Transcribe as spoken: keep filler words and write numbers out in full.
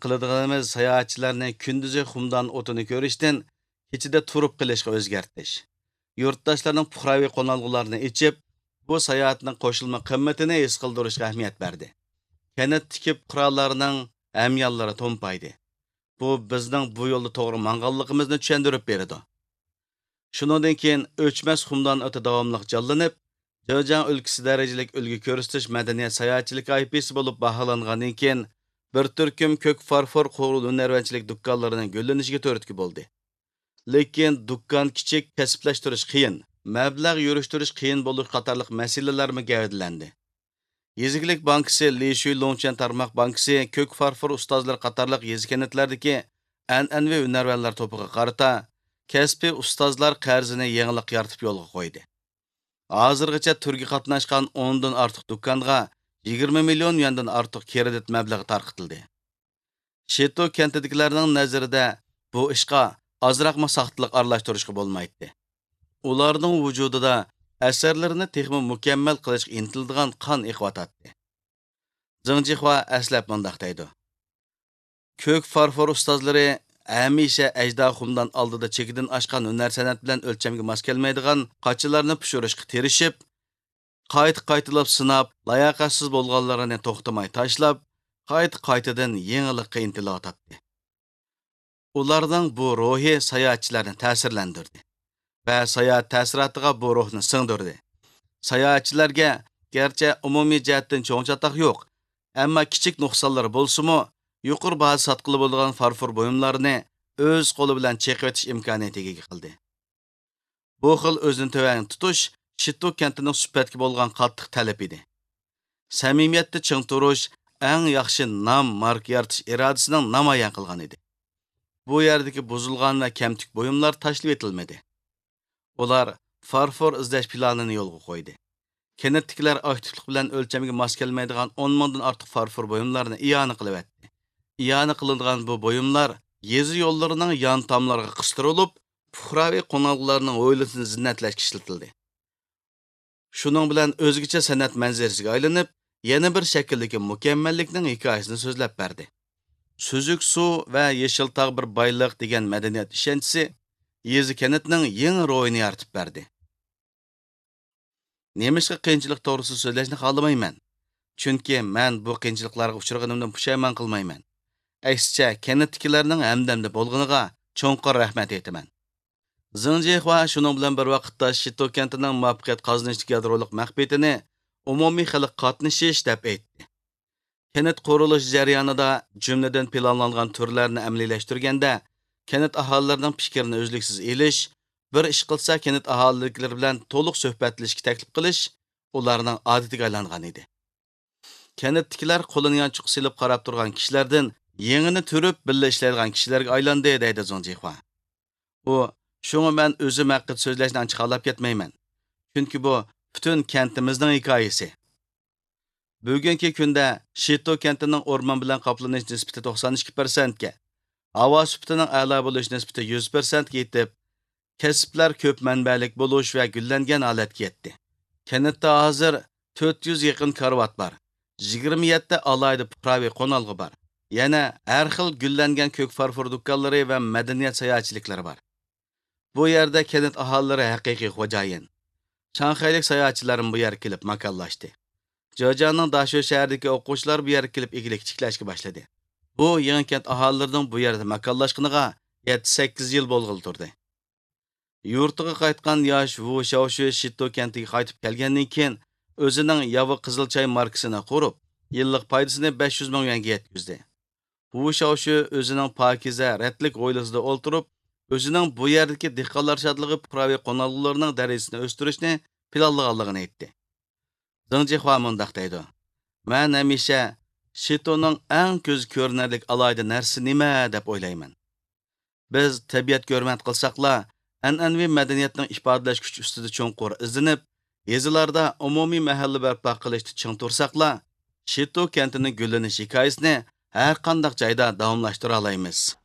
قىلىدىغىنىمىز ساياھەتچىلەرنى كۈندۈزى خۇمدان ئوتىنى كۆرۈشتىن كېچىدە تۇرۇپ قېلىشقا ئۆزگەرتىش. يۇرتداشلارنىڭ پۇقراۋى قونالغۇلارنى ئېچىپ، بۇ ساياھەتنىڭ قوشۇلما قىممىتىنى ھېس قىلدۇرۇشقا ئەھمىيەت بەردى. كەنتتىكى پۇقرالارنىڭ ھەميانلىرى تومپايدى. بۇ بىزنىڭ بۇ يولدا توغرا ماڭغانلىقىمىزنى چۈشەندۈرۈپ بېرىدۇ. شۇنىڭدىن كېيىن ئۆچمەس خۇمدان ئوتى داۋاملىق جانلىنىپ، جېجياڭ ئۆلكىسى دەرىجىلىك ئۈلگە كۆرسىتىش مەدەنىيەت ساياھەتچىلىك ئايپىسى بولۇپ باھالانغاندىن كېيىن، بىر تۈركۈم كۆك فارفور قورۇ ھۈنەرۋەنچىلىك دۇكانلىرىنىڭ گۈللىنىشىگە تۈرتكە بولدى. لېكىن دۇكان كىچىك، كەسىپلەشتۈرۈش قىيىن، مەبلەغ يۈرۈشتۈرۈش قىيىن بولۇش قاتارلىق مەسىلىلەرمۇ گەۋدىلەندى. يېزا ئىگىلىك بانكىسى، لىشۈي لۇڭچۈەن تارماق بانكىسى، كۆك فارفور ئۇستازلىرى قاتارلىق يېزا كەنتلەردىكى ئەنئەنىۋى ھۈنەرۋەنلەر توپىغا قارىتا كەسپىي ئۇستازلار قەرزىنى يېڭىلىق يارىتىپ يولغا قويدى. ھازىرغىچە تۈرگە قاتناشقان ئوندىن ئارتۇق دۇكانغا يىگىرمە مىليون يۈەندىن ئارتۇق كىرېدىت مەبلىغى تارقىتىلدى. شىتو كەنتىدىكىلەرنىڭ نەزىرىدە بۇ ئىشقا ئازراقمۇ ساختىلىق ئارىلاشتۇرۇشقا بولمايتتى. ئۇلارنىڭ ۋۇجۇدىدا ئەسەرلىرىنى تېخىمۇ مۇكەممەل قىلىشقا ئىنتىلىدىغان قان ئېقىۋاتاتتى. زېڭ جىخۇا ئەسلەپ مۇنداق دەيدۇ: كۆك فارفور ئۇستازلىرى ھەمىشە ئەجدىھا خۇمدان ئالدىدا چېكىدىن ئاشقان ھۈنەر سەنئەت بىلەن ئۆلچەمگە ماس كەلمەيدىغان قاچىلارنى پىشۇرۇشقا تىرىشىپ، قايتا-قايتىلاپ سىناپ، لاياقەتسىز بولغانلىرىنى توختىماي تاشلاپ، قايتا-قايتىدىن يېڭىلىققا ئىنتىلىۋاتاتتى. ئۇلارنىڭ بۇ روھى ساياھەتچىلەرنى تەسىرلەندۈردى ۋە ساياھەت تەسىراتىغا بۇ روھنى سىڭدۈردى. ساياھەتچىلەرگە گەرچە ئومۇمىي جەھەتتىن چوڭ چاتاق يوق، ئەمما كىچىك نۇقسانلىرى بولسىمۇ، يۇقىرى باھا ساتقىلى بولىدىغان فارفور بۇيۇملارنى ئۆز قولى بىلەن چېقىۋېتىش ئىمكانىيىتىگە ئىگە قىلدى. بۇ خىل ئۆزىنى تۆۋەن تۇتۇش شىتو كەنتىنىڭ سۈپەتكە بولغان قاتتىق تەلىپى ئىدى. سەمىمىيەتتە چىڭ تۇرۇش ئەڭ ياخشى نام، ماركا يارىتىش ئىرادىسىنىڭ نامايان قىلغان ئىدى. بۇ يەردىكى بۇزۇلغان ۋە كەمتۈك بۇيۇملار تاشلىۋېتىلمىدى. ئۇلار فارفور ئىزدەش پىلانىنى يولغا قويدى. كەنتتىكىلەر ئاكتىپلىق بىلەن ئۆلچەمگە ماس كەلمەيدىغان ئون مىڭدىن ئارتۇق فارفور بۇيۇملارنى ئىئانە قىلىۋەتتى. ئىئانە قىلىنغان بۇ بۇيۇملار يېزا يوللىرىنىڭ يان تاملىرىغا قىستۇرۇلۇپ، پۇقراۋى قونالغۇلارنىڭ ھويلىسىنى زىننەتلەشكە ئىشلىتىلدى. شۇنىڭ بىلەن ئۆزگىچە سەنئەت مەنزىرىسىگە ئايلىنىپ، يەنە بىر شەكىلدىكى مۇكەممەللىكنىڭ ھېكايىسىنى سۆزلەپ بەردى. سۈزۈك سۇ ۋە يېشىل تاغ بىر بايلىق دېگەن مەدەنىيەت ئىشەنچىسى يېزا كەنتنىڭ يېڭى روھىنى يارىتىپ بەردى. نېمىشقا قىيىنچىلىق توغرىسىدا سۆزلەشنى خالىمايمەن. چۈنكى مەن بۇ قىيىنچىلىقلارغا ئۇچرىغىنىمدىن پۇشايمان قىلمايمەن. ئەكسىچە، كەنتتىكىلەرنىڭ ھەمدەمدە بولغىنىغا چوڭقۇر رەھمەت ئېيتىمەن. زېڭ جىخۇا شۇنىڭ بىلەن بىر ۋاقىتتا شىتو كەنتىنىڭ مۇۋەپپەقىيەت قازىنىشتىكى يادرولۇق مەخپىيىتىنى ئومۇمىي خەلق قاتنىشىش دەپ ئېيتتى. كەنت قۇرۇلۇش جەريانىدا، جۈملىدىن پىلانلانغان تۈرلەرنى ئەمەلىيلەشتۈرگەندە، كەنت ئاھالىلىرىنىڭ پىكرىنى ئۈزلۈكسىز ئېلىش، بىر ئىش قىلسا كەنت ئاھالىلىرى بىلەن تولۇق سۆھبەتلىشىشكە تەكلىپ قىلىش ئۇلارنىڭ ئادىتىگە ئايلانغان ئىدى. كەنتتىكىلەر قولىنى يانچۇققا سېلىپ قاراپ تۇرغان كىشىلەردىن يېڭىنى تۈرۈپ بىللە ئىشلەيدىغان كىشىلەرگە ئايلاندى، دەيدۇ زېڭ جىخۇا. ئۇ، شۇڭا مەن ئۆزۈم ھەققىدە سۆزلەشنى ئانچە خالاپ كەتمەيمەن. چۈنكى بۇ پۈتۈن كەنتىمىزنىڭ ھېكايىسى. بۈگۈنكى كۈندە شىتو كەنتىنىڭ ئورمان بىلەن قاپلىنىش نىسبىتى توقسان ئىككى پىرسەنتكە، ھاۋا سۈپىتىنىڭ ئەلا بولۇش نىسبىتى يۈز پىرسەنتكە يېتىپ، كەسىپلەر كۆپ مەنبەلىك بولۇش ۋە گۈللەنگەن ھالەتكە يەتتى. كەنتتە ھازىر تۆت يۈز يېقىن كارىۋات بار، يىگىرمە يەتتە ئالاھىدە پۇقراۋى قونالغۇ بار. يەنە ھەر خىل گۈللەنگەن كۆك فارفور دۇكانلىرى ۋە مەدەنىيەت ساياھەتچىلىكلىرى بار. بۇ يەردە كەنت ئاھالىلىرى ھەقىقىي خوجايىن. شاڭخەيلىك ساياھەتچىلەرمۇ بۇ يەرگە كېلىپ ماكانلاشتى. جېجياڭنىڭ داشۆ شەھىرىدىكى ئوقۇغۇچىلار بۇ يەرگە كېلىپ ئىگىلىك تىكلەشكە باشلىدى. بۇ يېڭى كەنت ئاھالىلىرىنىڭ بۇ يەردە ماكانلاشقىنىغا يەتتە سەككىز يىل بولغىلى تۇردى. يۇرتىغا قايتقان ياش ۋۇ شياۋشۈ شىتو كەنتىگە قايتىپ كەلگەندىن كېيىن، ئۆزىنىڭ ياۋا قىزىل چاي ماركىسىنى قۇرۇپ، يىللىق پايدىسىنى بەش يۈز مىڭ يۈەنگە يەتكۈزدى. ۋۇ شياۋشۈ ئۆزىنىڭ پاكىزە، رەتلىك ھويلىسىدا ئولتۇرۇپ، ئۆزىنىڭ بۇ يەردىكى دېھقانلار شادلىقى پۇقراۋى قونالغۇلىرىنىڭ دەرىجىسىنى ئۆستۈرۈشنى پىلانلىغانلىقىنى ئېيتتى. زېڭ جىخۇا مۇنداق دەيدۇ: مەن ھەمىشە شىتونىڭ ئەڭ كۆزگە كۆرۈنەرلىك ئالاھىدە نەرسىسى نېمە دەپ ئويلايمەن. بىز تەبىئەتكە ھۆرمەت قىلساقلا، ئەنئەنىۋى مەدەنىيەتنىڭ ئىپادىلەش كۈچى ئۈستىدە چوڭقۇر ئىزدىنىپ، يېزىلاردا ئومۇمىي مەھەللە بەرپا قىلىشتا چىڭ تۇرساقلا، شىتو كەنتىنىڭ گۈللىنىش ھېكايىسىنى ھەرقانداق جايدا داۋاملاشتۇرالايمىز.